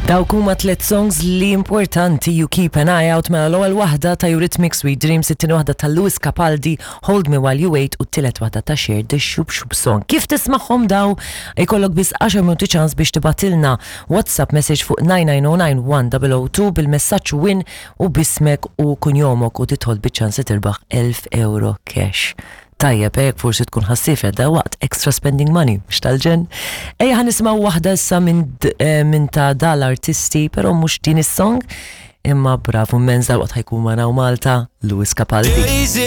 Dawk huma tliet songs li importanti you keep an eye out mela l-ewwel waħda ta' Eurythmics Sweet Dreams, it-tieni waħda ta' Lewis Capaldi Hold Me While You Wait u t-tielet waħda ta' Cher The Shoop Shoop Song. Kif tismagħhom daw ikollok biss 10 minuti ċans biex tibgħatilna WhatsApp message fuq 9909 1002 bil-messaġġ win u b'ismek u kunjomok u tidħol biċ-ċans li tirbaħ 1000 euro cash. Tajjeb, eh, jekk forsi tkun ħassifet da waqt extra spending money, mhux tal-ġenn. Ejja ħa nisimgħu waħda issa minn eh, min ta' dal-artisti, però mhux din is-song, imma bravu immens dal-waqt ħajkun magħna Malta, Lewis Capaldi.